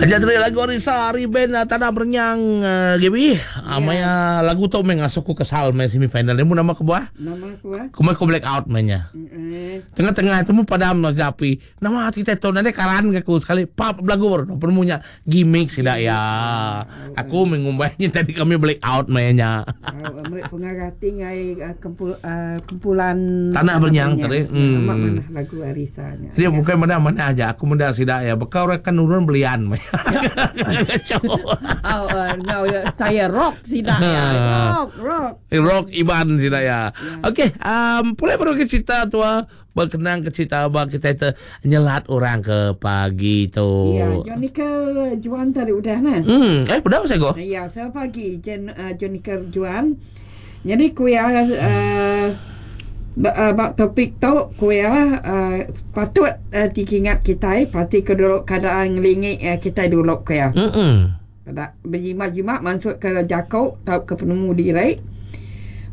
Aja tadi lagu Arisa ari band Tanah Berenyang Gaby. Yeah. Maya lagu tu meh ngasuh ku kesal meh semi final. Nemu nama kebuah? Nama kebuah? Ku meh ku black out meh nya. Mm-hmm. Tengah-tengah tu mu padam api. Nama ti tu nadai karan ke aku sekali pap belagu baru penemu nya gimmick sida ya. Aku meh ngumbai nya tadi kami black out meh nya. Meri pengarah ti ngai kumpulan Tanah Berenyang tadi. Hmm. Amat manah lagu Arisa nya. Dia bukan manah manah aja aku meda sida ya baka orang kan nurun belian meh. Oh, ngau style rock sida ya. Rock, rock. Rock Iban sida ya. Okey, pulai baru ke cerita tua Bekenang ke cerita ba kitai te nyelat orang ke pagi tu. Ya, Jonica Juan tadi udah nah. Eh udah saya go. Ya, selamat pagi Jen uh, Jonica Juan. Jadi ku iya uh, ba topik tu ku iya uh, patut uh, dikingat kitai parti ke dulu keadaan ngelingi uh, kitai dulu ku iya. Peda bejimat-jimat mansut ke jaku tauka penemu diri.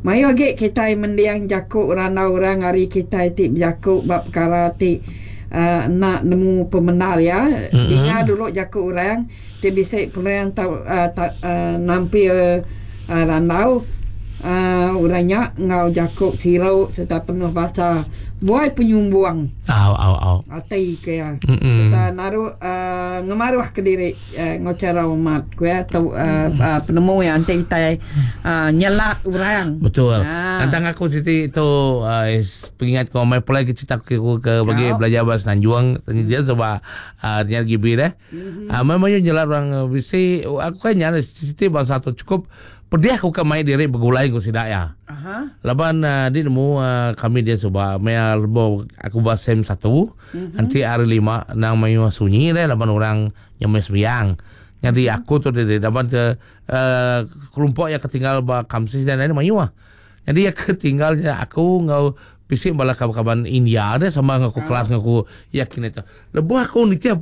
Mayuh agi kitai mending jaku randau orang ari kitai ti bejaku ba pekara ti enda nemu pemendar iya. Dinga dulu jaku orang ti bisi peluang tau nampil randau orang nya enggau jaku siru sereta penuh basa buai penyumbung ati ke iya sereta naru ngemaruh kediri. Enggau chara umat ku iya tu penemu iya enti kitai nyelak orang. Betul. Tentang aku siti tu pengingat ko mai pulai ke cerita aku ke bagi belajar ba Semenanjung dia sebab nya GB deh. Mai mayuh nyelak orang bisi aku kan nya siti bansa tu cukup pedih aku ke mai diri begulai enggau sida iya. Laban di nemu kami dia suba maya lebuh aku ba sem satu. Enti hari lima endang mayuh sunyi deh laban orang nyemai sembiang. Nyadi aku tu diri laban ke uhh kelompok iya ke tinggal ba Kamsis dan lain mayuh. Nyadi iya ke tinggal nya aku enggau bisi bala kaban-kaban India deh sama enggau aku kelas enggau aku yakin ito. Lebuh aku nitih.